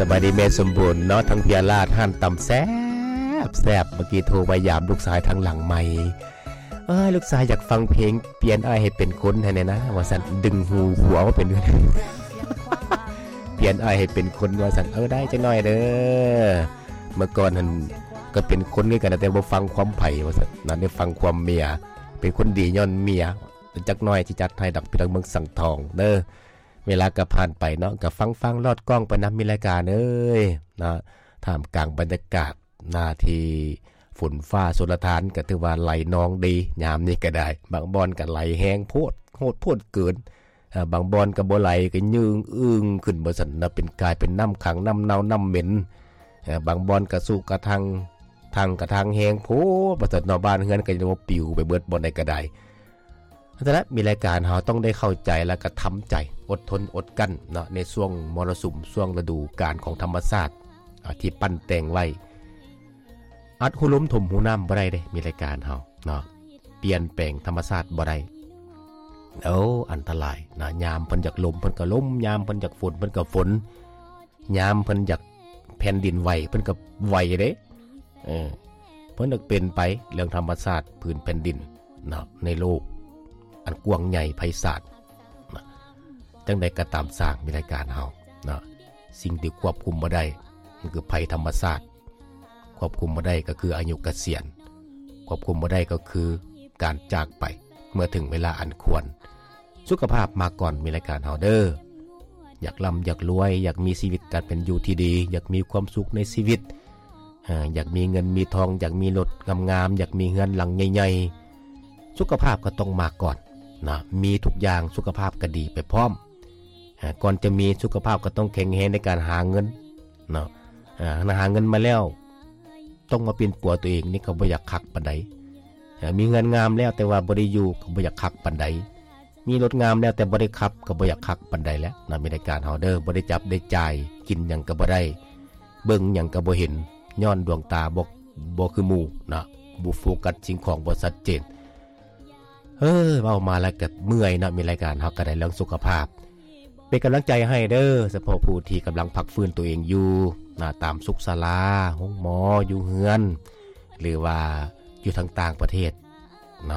ສະບາຍດີແມ່ສົມບູນເນາະ ທາງເພຍລາດ ຮ້ານຕຳແຊບໆ ເມື່ອກີ້ໂທມາຢາມລູກຊາຍທາງຫຼັງໄມ ເອີຍ ລູກຊາຍຢາກຟັງເພງ ປ່ຽນອ້າຍໃຫ້ເປັນຄົນໃຫ້ແດ່ນະ ວ່າຊັ້ນ ດຶງຫູຜົວມາເປັນ ປ່ຽນອ້າຍໃຫ້ເປັນຄົນ ວ່າຊັ້ນ ເອີ ໄດ້ຈັກໜ້ອຍເດີ ເມື່ອກ່ອນຫັ້ນກໍເປັນຄົນຄືກັນ ແຕ່ບໍ່ຟັງຄວາມໃຜ ວ່າຊັ້ນ ນັ້ນໄດ້ຟັງຄວາມເມຍ ເປັນຄົນດີຍ້ອນເມຍ ຈັກໜ້ອຍຊິຈັດໃຫ້ດອກ ພີ່ນ້ອງເມືອງສັງທອງເດີ. ເວລາກໍຜ່ານໄປເນາະ ກໍຟັງໆ ລອດກ້ອງໄປນຳ ມີລາຍການເອີຍ ເນາະ ທ່າມກາງບັນຍາກາດນາທີ່ຝົນຟ້າຊົນລະທານ ກໍຖືວ່າໄຫຼນອງດີ ຍາມນີ້ກໍໄດ້ ບາງບ່ອນກໍໄຫຼແຮງໂພດ ໂຫດໂພດເກີນ ເອີ ບາງບ່ອນກໍບໍ່ໄຫຼ ກໍຍືງອຶ່ງຂຶ້ນ ວ່າຊັ້ນນະ ເປັນ ກາຍເປັນນ້ຳຂັງ ນ້ຳເນົ່າ ນ້ຳເໝັນ ເອີ ບາງບ່ອນກໍຊຸກະທັງ ທັງກະທັງແຮງໂພດ ວ່າຊັ້ນເນາະ ບ້ານເຮືອນກໍຈະບໍ່ປິວໄປເບິດ ບ່ອນໃດກໍໄດ້. ນັ້ນລະ ມີລາຍການເຮົາຕ້ອງໄດ້ເຂົ້າໃຈ ແລ້ວກໍທຳໃຈ ອົດທົນອົດກັ້ນເນາະ ໃນຊ່ວງມໍລະສຸມ ຊ່ວງລະດູການຂອງທຳມະຊາດ ອາ ທີ່ປັ້ນແຕ່ງໄວ້ ອັດຮູລົມຖົມຮູນ້ຳບໍ່ໄດ້ເດ້ ມີລາຍການເຮົາເນາະ ປ່ຽນແປງທຳມະຊາດບໍ່ໄດ້ ໂອ້ ອັນຕະລາຍນະ ຍາມເພິ່ນຢາກລົມ ເພິ່ນກໍລົມ ຍາມເພິ່ນຢາກຝົນ ເພິ່ນກໍຝົນ ຍາມເພິ່ນຢາກແຜ່ນດິນໄຫວ ເພິ່ນກໍໄຫວເດ້ ເອີ ເພິ່ນກໍເປັນໄປ ເລື່ອງທຳມະຊາດພື້ນແຜ່ນດິນເນາະ ໃນໂລກອັນກວ້າງໃຫຍ່ໄພສານນະ ຈັ່ງໃດກໍຕາມຊ່າງ ມີລາຍການເຮົາເນາະ ສິ່ງທີ່ຄວບຄຸມບໍ່ໄດ້ ມັນຄືໄພທຳມະຊາດ ຄວບຄຸມບໍ່ໄດ້ກໍຄືອາຍຸກະສຽນ ຄວບຄຸມບໍ່ໄດ້ກໍຄືການຈາກໄປ ເມື່ອເຖິງເວລາອັນຄວນ. ສຸຂະພາບມາກ່ອນ ມີລາຍການເຮົາເດີ ຢາກລ່ຳຢາກລວຍ ຢາກມີຊີວິດການເປັນຢູ່ທີ່ດີ ຢາກມີຄວາມສຸກໃນຊີວິດ ເອີ ຢາກມີເງິນມີທອງ ຢາກມີລົດງາມໆ ຢາກມີເຮືອນຫຼັງໃຫຍ່ໆ ສຸຂະພາບກໍຕ້ອງມາກ່ອນນະ ມີທຸກຢ່າງ ສຸຂະພາບກໍດີໄປພ້ອມ ເອີ ກ່ອນຈະມີສຸຂະພາບກໍຕ້ອງແຂງແຮງໃນການຫາເງິນເນາະ ເອີ ຫາເງິນມາແລ້ວ ຕ້ອງມາປິ່ນປົວຕົວເອງ ນີ້ກໍບໍ່ຢາກຄັກປານໃດ ເອີ ມີເຮືອນງາມແລ້ວ ແຕ່ວ່າບໍ່ໄດ້ຢູ່ ກໍບໍ່ຢາກຄັກປານໃດ ມີລົດງາມແລ້ວ ແຕ່ບໍ່ໄດ້ຂັບ ກໍບໍ່ຢາກຄັກປານໃດແຫຼະນະ ມີລາຍການເຮົາເດີ ບໍ່ໄດ້ຈັບໄດ້ຈ່າຍ ກິນຫຍັງກໍບໍ່ໄດ້ ເບິ່ງຫຍັງກໍບໍ່ເຫັນ ຍ້ອນດວງຕາບໍ່ ບໍ່ຄືໝູ່ເນາະ ບໍ່ໂຟກັດສິ່ງຂອງບໍ່ຊັດເຈນ. ເອີ ເວົ້າມາແລ້ວກໍເມື່ອຍເນາະ ມີລາຍການເຮົາກໍໄດ້ເລື່ອງສຸຂະພາບ ເປັນກຳລັງໃຈໃຫ້ເດີ ສະເພາະຜູ້ທີ່ກຳລັງພັກຟື້ນຕົວເອງຢູ່ນະ ຕາມສຸກສາລາ ໂຮງໝໍ ຢູ່ເຮືອນ ຫຼືວ່າຢູ່ທາງຕ່າງປະເທດ